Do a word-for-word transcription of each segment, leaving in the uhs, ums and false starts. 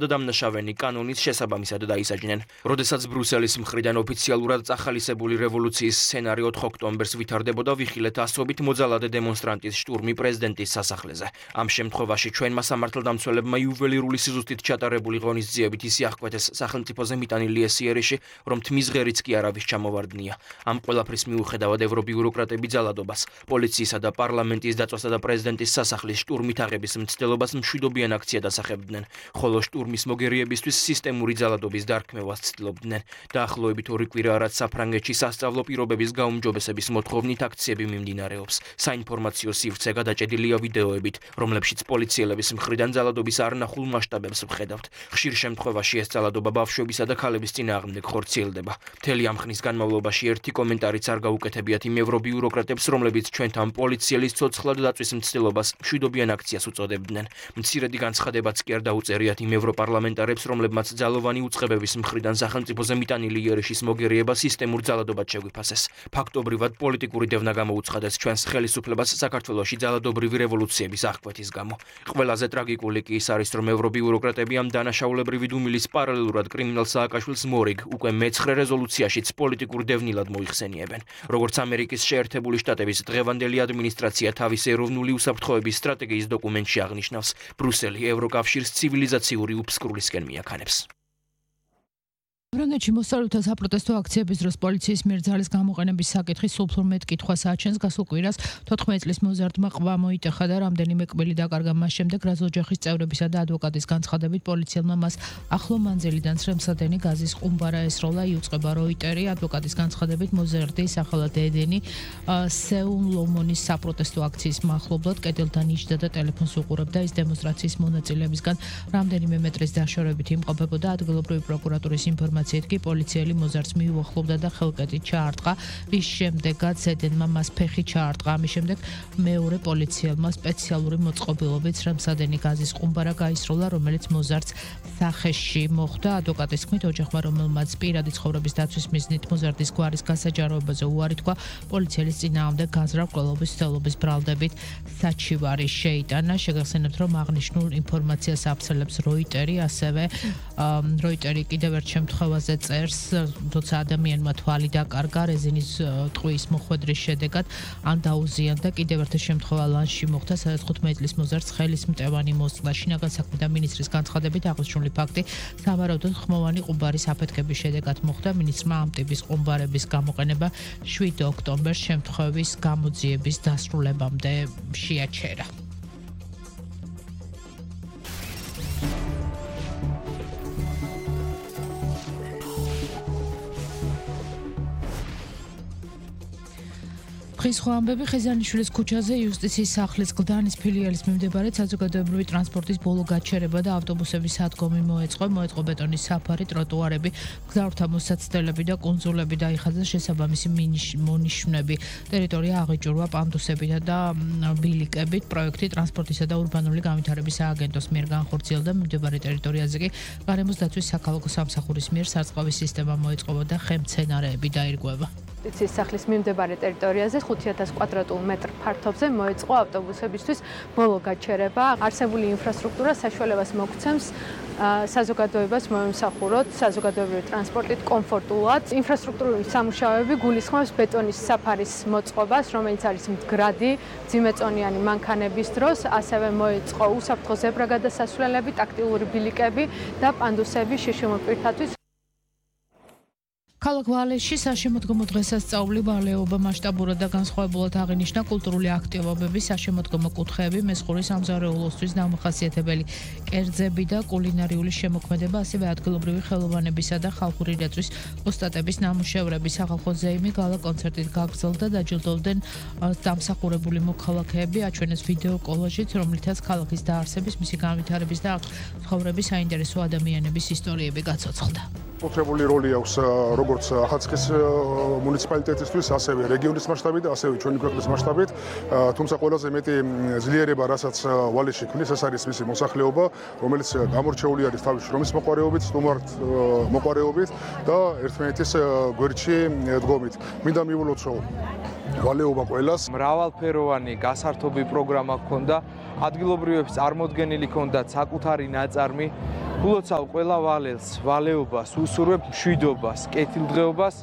დამნაშავენი კანონის შესაბამისად დაისაჯნენ. როდესაც ბრუსელის მხრიდან ოფიციალურად წახალისებული რევოლუციის სცენარი ოთხ ოქტომბერს ვითარდებოდა, ვიხილეთ ასობით მოძალადე დემონსტრანტის შტურმი პრეზიდენტის სასახლეზე. ამ შემთხვევაში ჩვენმა სამართალდამცველებმა იუველირული სიზუსტით ჩატარებული ღონისძიებით ისი აღკვეთეს სახელმწიფოზე მიტანილი ეს იერიში, რომ თმის ღერიც კი არავის ჩამოვარდნია. ამ ყველაფრის მიუხედავად ევრობიუროკრატები ძალადობას, პოლიციისა და პარლამენტის დაწვასა და პრეზიდენტის სასახლის შტურმით აღების მცდელობას მშვიდობიან აქციად ასახებდნენ, ხოლო შტურმის მოგერიებისთვის სისტემური ძალადობის დარქმევას ცდილობდნენ. დაახლოებით ორი კვირა რაც საფრანგეთში სასწავლო პირობების გაუმჯობესების მოთხოვნით აქციები მიმდინარეობს. საინფორმაციო სივრცე გადაჭედილია ვიდეოებით, რომლებშიც პოლიციელების მხრიდან ძალადობის არნახულ მასშტაბებს ვხედავთ. ხშირ შემთხვევაში ეს ძალადობა ბავშვებისა და ქალების წინააღმდეგ ხორციელდება. მთელი ამ ხნის განმავლობაში ერთი კომენტარიც არ გაუკეთებიათ იმ ევრობიუროკრატებს, რომლებიც ჩვენთან პოლიციელის ცოცხლად დაწვის მცდელობას მშვიდობიან აქციას უწოდებდნენ. მცირედი განცხადებაც კი არ დაუწერიათ იმ ევროპარლამენტარებს, რომლებმაც ძალოვანი უწყებების მხრიდან სახელმწიფოზე მიტანილი იერიში მოგერიება სისტემურ ძალადობად შეგვიფასეს. ფაქტობრივად პოლიტიკური დევნა გამოუცხადეს ჩვენს ხელისუფლებას საქართველოში ძალადობრივი რევოლუციების აღკვეთის გამო. ყველაზე ტრაგიკული კი ის არის, რომ ევრობიუროკრატები ამ დანაშაულებრივი დუმილის პარალელურად კრიმინალ სააკაშვილს მორიგ უკვე მეცხრე რეზოლუციაშიც პოლიტიკურ დევნილად მოიხსენიებენ. როგორც ამერიკის შეერთებული შტატების დღევანდელი ადმინისტრაცია თავის ეროვნული უსაფრთხოების სტრატეგიის დოკუმენტში აღნიშნავს, ბრუსელი ევროკავშირს ცივილიზაციური უფსკრულისკენ მიაქანებს. ფრანგეთში მოსწავლეთა საპროტესტო აქციების დროს პოლიციის მიერ ძალის გამოყენების საკითხი სულ უფრო მეტ კითხვას აჩენს. გასულ კვირას თოთხმეტი წლის მოზარდმა ყვა მოიტეხა და რამდენიმე კბილი დაკარგა მას შემდეგ, რაც ოჯახის წევრებისა და ადვოკატის განცხადებით პოლიციელმა მას ახლო მანძილიდან სრემსადენი გაზის ყუმბარა ესროლა. იუწყება როიტერი. ადვოკატის განცხადებით მოზარდი სახელად ედენი სეულ ლომონის საპროტესტო აქციის მახლობლად კედელთან იჯდა და ტელეფონს უყურებდა. ის დემონსტრაციის მონაწილეებისგან რამდენიმე მეტრის დაშორებით იმყოფებოდა. ადგილობრივი პროკურატურის ინფორმაციით კი პოლიციელი მოზარდს მიუახლოვდა და ხელკეტით ჩაარტყა, რის შემდეგაც ედენმა მას ფეხი ჩაარტყა. ამის შემდეგ მეორე პოლიციელმა სპეციალური მოწყობილობით სრემსადენი გაზის ყუმბარა გაისროლა, რომელიც მოზარდს სახეში მოხვდა. ადვოკატის თქმით, ოჯახმა, რომელმაც პირადი ცხოვრების დაცვის მიზნით მოზარდის გვარის გასაჯაროებაზე უარი თქვა, პოლიციელის წინააღმდეგ გაზრდაყრელობის ცდელობის ბრალდებით საჩივარი შეიტანა. შეგახსენებთ, რომ აღნიშნულ ინფორმაციას აფსელებს როიტერი, ასევე როიტერი კიდევ ერთ შემთხვევაზე წერს, თორსა ადამიანმა თვალი დაკარგა რეზინის ტყუის მოხვედრის შედეგად, ან დაუზიანდა. კიდევ ერთი შემთხვევა ლანში მოხდა, სადაც თხუთმეტი წლის მოზარდს ხელის მტევანი მოსწყდა. შინაგან საქმეთა მინისტრის განცხადებით აღნიშნული ფაქტი სავარაუდოდ ხმოვანი ყუმბარის აფეთქების შედეგად მოხდა. მინისტრმა ამ ტიპის ყუმბარების გამოყენება შვიდ ოქტომბერს შემთხვევის გამოძიების დასრულებამდე შეაჩერა. დღის სხვა ამბები ხეზანიშვილის ქუჩაზე იუსტიციის სახლის გლდანის ფილიალის მიმდებარედ საზოგადოებრივი ტრანსპორტის ბოლო გაჩერება და ავტობუსების სადგომი მოეწყო. მოეწყო ბეტონის საფარი, ტროტუარები, მგზავრთა მოსაცდელები და კუნძულები დაიხადა შესაბამისი მონიშნები. ტერიტორია აღიჭურვა პანდუსებითა და ბილიკებით. პროექტი ტრანსპორტისა და ურბანული განვითარების სააგენტოს მიერ განხორციელდა. მიმდებარე ტერიტორიაზე კი გარემოს დაცვის საქალაქო სამსახურის მიერ სარწყავი სისტემა მოეწყობა და ხემცენარეები დაირღვევა. იუსტიციის სახლის მიმდებარე ტერიტორიაზე ხუთი ათას კვადრატულ მეტრ ფართობზე მოეწყო ავტობუსებისთვის ბოლო გაჩერება. არსებული ინფრასტრუქტურა საშუალებას მოგცემს საზოგადოებას მოემსახუროთ საზოგადოებრივი ტრანსპორტით კომფორტულად. ინფრასტრუქტურული სამუშაოები გულისხმობს ბეტონის საფარის მოწყობას, რომელიც არის მდგრადი, ძიმეწონიანი მანქანების დროს, ასევე მოეწყო უსაფრთხო ზებრაგადასასვლელები, ტაქტილური ბილიკები და პანდუსები შიშიმურ პირთათვის. ქალაქ ვალეში საშემოდგომო დღესასწაული ვალეობა მასშტაბურად და განსხვავებულად აღინიშნა. კულტურული აქტივობები, საშემოდგომო კუთხეები, მესხური სამზარეულოსთვის დამახასიათებელი კერძები და კულინარიული შემოქმედება, ასევე ადგილობრივი ხელოვანებისა და ხალხური რეწვის ოსტატების ნამუშევრები. სახალხო ზეიმი გალა კონცერტით გაგრძელდა, დაჯილდოვდნენ დამსახურებული მოქალაქეები, აჩვენეს ვიდეო კოლაჟით, რომლითაც ქალაქის დაარსების, მისი განვითარების და ცხოვრების საინტერესო ადამიანების ისტორიები გაცოცხლდა. Potrebuli roli აქვს როგორც ახალციხის მუნიციპალიტეტისთვის, ასევე რეგიონის მასშტაბით და ასევე ჩვენი ქვეყნის მასშტაბით. თუმცა ყველაზე მეტი ძლიერება, რასაც ვალეში ქმნის, ეს არის მისი მოსახლეობა, რომელიც გამორჩეული არის თავის შრომის მოყვარეობით, სტუმართ მოყვარეობით და ერთმანეთის გვერდში დგომით. მინდა მივულოცო ვალეობა ყველას. მრავალფეროვანი გასართობი პროგრამა ჰქონდა, ადგილობრივებს წარმოდგენილი ჰქონდათ საკუთარი ნაწარმი გულოცავ ყველა ვალელს, ვალეობას, უსურვებ მშვიდობას, კეთილდღეობას,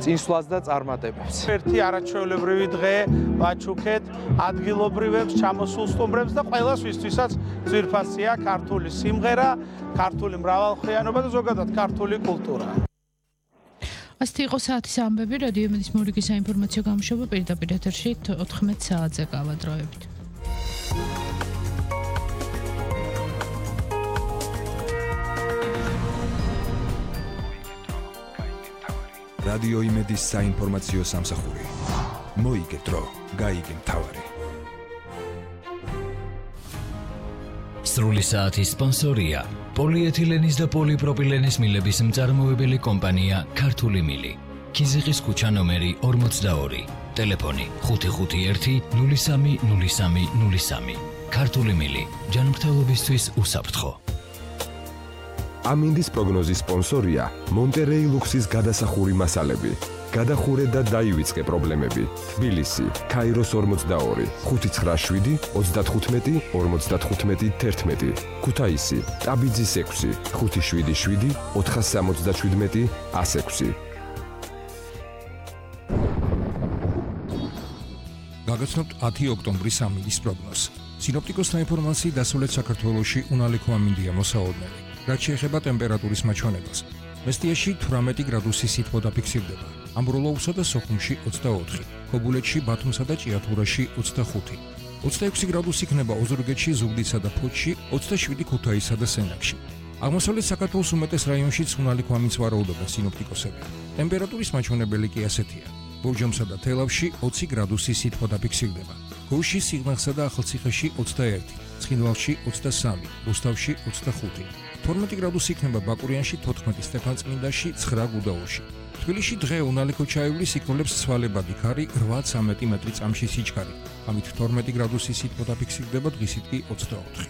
წინსვლას და წარმატებებს. ერთი არაჩვეულებრივი დღე ვაჩუქეთ ადგილობრივებს, ჩამოსულ სტუმრებს და ყველას ვისთვისაც ძვირფასია ქართული სიმღერა, ქართული მრავალხმიანობა და ზოგადად ქართული კულტურა. ასეთი იყო საათის ამბები, რადიო იმედის მორიგის საინფორმაციო გამოშვება პირდაპირ ეთერში ოთხმეტ საათზე გავადროებით. რადიო იმედის საინფორმაციო სამსახური. მოიგე დრო, გაიგე მთავარი. სრული საათის სპონსორია პოლიეთილენის და პოლიპროპილენის მილების მწარმოებელი კომპანია ქართული მილი. ქიზიყის ქუჩა ნომერი ორმოცდაორი. ტელეფონი ხუთი ხუთი ერთი ნული სამი ნული სამი ნული სამი. ქართული მილი. ჯანმრთელობისთვის უსაფრთხო. ამინდის პროგნოზის სპონსორია მონტერეი ლუქსის გადასახური მასალები. გადახურე და დაივიწყე პრობლემები. თბილისი, ქაიროს ორმოცდაორი, ხუთი ცხრა შვიდი ოცდათხუთმეტი ორმოცდათხუთმეტი თერთმეტი. ქუთაისი, ტაბიძის ექვსი, ხუთი შვიდი შვიდი ოთხასამოცდაშვიდმეტი ას ექვსი. გაგაცნობთ ათი ოქტომბრის ამინდის პროგნოზს. სინოპტიკოსთა ინფორმაციით დასავლეთ საქართველოში უნალიქო ამინდია მოსაოდნელი. რაც შეეხება ტემპერატურის მაჩვენებას. მესტიაში თვრამეტი გრადუსი სითბო დაფიქსირდება. ამბროლოუსა და სოხუმში ოცდაოთხი, ქობულეთში, ბათუმსა და ჭიათურაში ოცდახუთი. ოცდაექვსი გრადუსი იქნება ოზურგეთში, ზუგდიდსა და ფოთში, ოცდაშვიდი ქუთაისსა და სენაკში. აღმოსავლეთ საქართველოს უმეტეს რაიონშიც უნალიქო ამინდს ვარაუდობენ სინოპტიკოსები. ტემპერატურის მაჩვენებელი კი ასეთია. ბორჯომსა და თელავში ოცი გრადუსი სითბო დაფიქსირდება. გოუში, სიღნაღსა და ახალციხეში ოცდაერთი, ცხინვალში ოცდასამი, რუსთავში ოცდახუთი. თორმეტი გრადუსი იქნება ბაკურიანში, თოთხმეტი სტეფანწმინდაში, ცხრა გუდაურში. თბილისში დღე უნალიქო ჩაივლის იქნოლებს ცვალებადი ქარი რვა ცამეტი მეტრი წამში სიჩქარე. ამით თორმეტი გრადუსი სითბო დაფიქსირდება, დღისით კი ოცდაოთხი.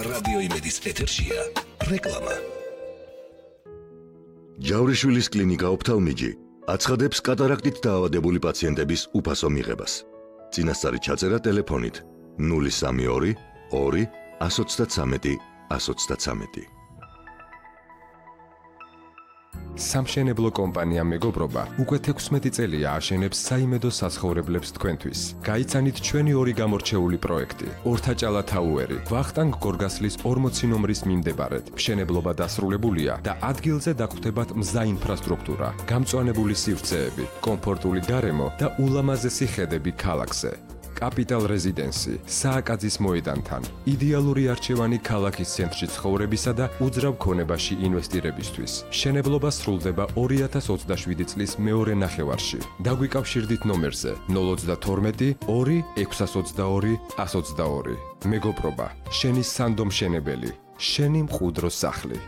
რადიო იმედის ეთერშია რეკლამა. ჯავრიშვილის კლინიკა ოფთალმიჯი აცხადებს კატარაქტით დაავადებული პაციენტების უფასო მიღებას. წინასწარი ჩაწერა ტელეფონით ნული სამი ორი ორი ას ოცდაცამეტი ას ოცდაცამეტი. სამშენებლო კომპანია მეგობრობა უკვე თექვსმეტი წელია აშენებს საიმედო საცხოვრებლებს თქვენთვის. გაიცანით ჩვენი ორი გამორჩეული პროექტი. ორთაჭალა თაუერი, ვახტანგ გორგასლის ორმოცი ნომრის მიმდებარედ. მშენებლობა დასრულებულია და ადგილზე დაგხვდებათ მზა ინფრასტრუქტურა, გამწვანებული სივრცეები, კომფორტული გარემო და ულამაზესი ხედები ქალაქზე. კაპიტალ რეზიდენსი, სააკაძის მოედანთან, იდეალური არჩევანი ქალაქის ცენტრში ცხოვრებისა და უძრავ ქონებაში ინვესტირებისთვის. მშენებლობა სრულდება ორი ათას ოცდაშვიდი წლის მეორე ნახევარში. დაგვიკავშირდით ნომერზე ნული ოცდათორმეტი ორი ექვსას ოცდაორი ას ოცდაორი. მეგობრობა, შენი სანდო მშენებელი, შენი მყუდრო სახლი.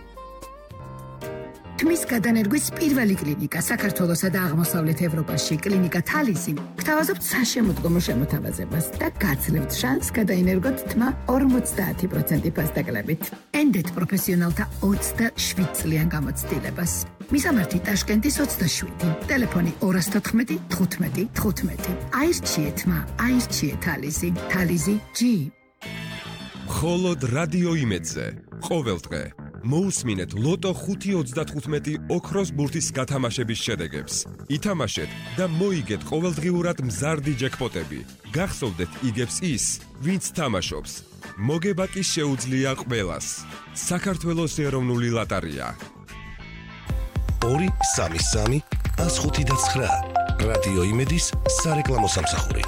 თმის გადანერგვის პირველი კლინიკა საქართველოსა და აღმოსავლეთ ევროპაში კლინიკა თალისი გთავაზობთ საშემოდგომო შემოთავაზებას და გაძლევთ შანსს გადაინერგოთ თმა ორმოცდაათი პროცენტი ფასდაკლებით. ენდეთ პროფესიონალთა ოცდაშვიდ წლიან გამოცდილებას. მისამართი ტაშკენტის ოცდაშვიდი, ტელეფონი ორას თოთხმეტი თხუთმეტი თხუთმეტი. აირჩიე თმა, აირჩიე თალისი, თალისი ჯი. მხოლოდ რადიო იმედზე ყოველდღე მოусმინეთ ლოტო ხუთი ოცდათხუთმეტი ოქროს ბურთის გათამაშების შედეგებს. ითამაშეთ და მოიგეთ ყოველდღიურად მზარდი ჯეკპოტები. გახსოვდეთ იგებს ის, ვინც თამაშობს. მოგება კი შეუძლია ყველას. საქართველოს ეროვნული ლოტარია. ორი სამი სამი ას ხუთი და ცხრა. რადიო იმედის სარეკლამო სამსახური.